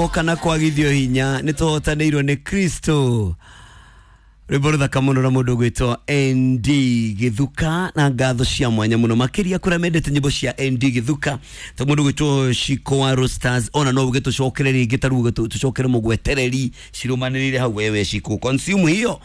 Kana kwagithio hinya nä tåhotanä nä Kristo. Rwĩmbo rũthaka mũno na mũndũ ũgwĩtwo ND Gĩthuka, na ngatho cia mwanya mũno makĩria kũrĩa mendete nyĩmbo cia ND Gĩthuka, ta mũndũ ũgwĩtwo Shiko wa Roasters. Ona no uge tũcokere rĩngĩ, ta rĩu tũcokere mũgwetereri cirumanĩrĩire hau. Wewe Shiko, consume hiyo.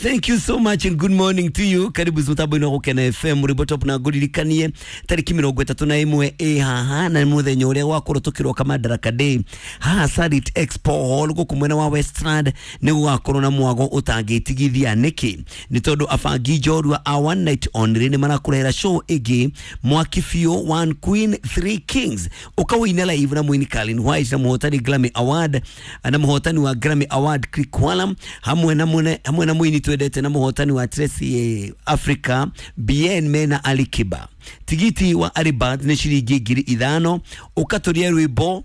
Thank you so much and good morning to you. Karibu mutambo-inĩ wa Gũkena FM rwĩmbo top, na ngũririkanie tarĩki 31 ĩ haha, na nĩ mũthenya ũrĩa gwakorwo tũkĩroka Madaraka Day haha Sarit Expo Hall gũkũ mwena wa Westland. Nĩ gũgakorwo na mwago ũtangĩtigithia. Nĩkĩ? Nĩ tondũ abangi njorua a One Night Only nĩ marakũrehera show ĩngĩ mwaki biũ, One Queen Three Kings, ũkawĩina live na mũini Kalin White na mũhotani Grammy Award, na mũhotani wa Grammy Award Click Walam, hamwe na mune, hamwe na mũini twendete na mũhotani wa Tracy Africa Bien mena Ali Kiba. Tigiti wa Alibad nĩ ciringi 5,000. Ũkatũria rwĩmbo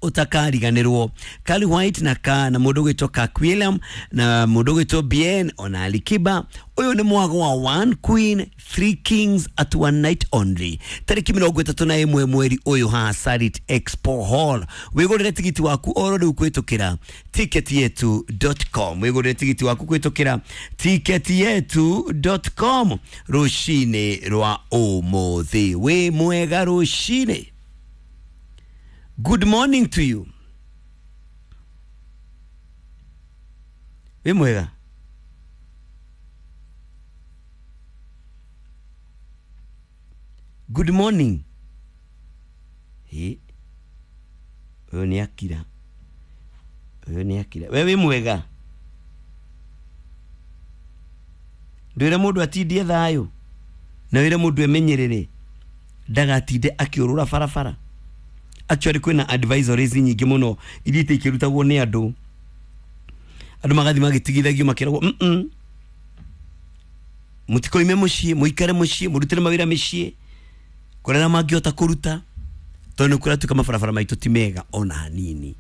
utakariganirwo, Kali White na ka na mundu gwitwo Kirk William na mundu gwitwo Bien ona Alikiba. Uyu ni mwago wa One Queen Three Kings at one night only, tariki 31 mweri uyu haha Sarit Expo Hall. Wigurire tigiti waku oro riu kwitukira ticketyetu.com. Wigurire tigiti waku kwitukira ticketyetu.com rucini rwa umuthi. Wi mwega rucini. Good morning to you. Wĩ mwega? Good morning. Hĩ. Ũyũ nĩ akira. Ũyũ nĩ akira. We wĩ mwega? Ndwĩre mũndũ atindie thayũ na wĩre mũndũ emenyerere ndagatinde akĩũrũra barabara. Actually, kwĩna advisories nyingĩ mũno iria ikĩrutagwo nĩ andũ. Andũ magathi magĩtigithagio makĩragwo mũtikoime mũciĩ, mũikare mũciĩ, mũrutĩre mawĩra mĩciĩ kũrĩa mangĩhota kũruta, tondũ nĩ kũratuĩka mabarabara maitũ ti mega ona hanini.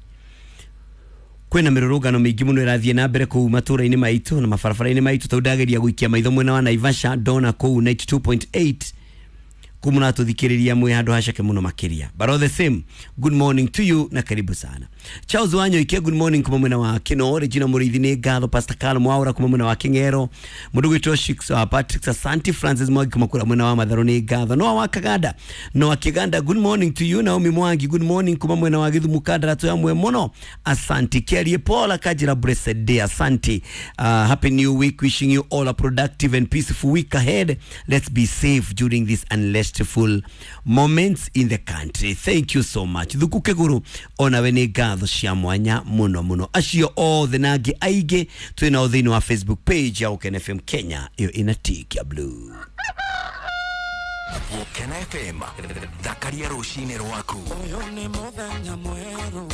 Kwĩna mĩrũrũngano mĩingĩ mũno ĩrathiĩ na mbere kũu matũra-inĩ maitũ na mabarabara-inĩ maitũ. Tondũ ndageria gũikia maitho mwena wa Naivasha, ndona kũu 92.8 kuu mũratũthikĩrĩria mwĩ handũ haceke mũno makĩria. But all the same, good morning to you na karibu sana. Charles Wanyoike, good morning kuma mwena wa Kino. Regina Mũrĩithi, nĩ ngatho. Pastor Carl Mwaura kuma mwena wa King'ero. Mũndũ gwĩtwo Shix Patrick, Asante. Francis Mwangi kuma kũrĩa mwena wa Matharũ, nĩ ngatho. Noah wa Kaganda, Noah Kiganda, good morning to you. Naomi Mwangi, good morning kuma mwena wa Githumu Kandara, twĩ mũno, asante. Kiarie Paul akajira, blessed day, asante. Happy new week, wishing you all a productive and peaceful week ahead. Let's be safe during this unrestful moments in the country. Thank you so much. Thuku Kiguru, onawe nĩ ngatho cia mwanya mũno mũno. Acio othe na angĩ aingĩ twĩ nao thĩinĩ wa Facebook page ya Gũkena FM Kenya, ĩyo ĩna tick ya blue. Gũkena FM, thakaria rũcinĩ rwaku. Ũyũ nĩ mũthenya mwerũ.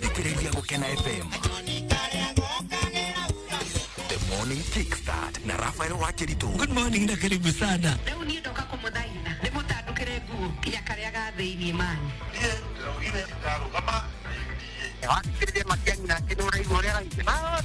Thikĩrĩria Gũkena FM The Morning Kickstart na Rafael Wakiritu. Good morning na karibu sana. Rĩu niĩ ndoka kũmũthaitha ndĩmũtandũkĩre nguo nginya karĩa ga thĩiniĩ mani. Niĩ ndĩraugire ndarũgama. Wakĩrĩria Matiang'i nake nĩ ũraigua ũrĩa araigua.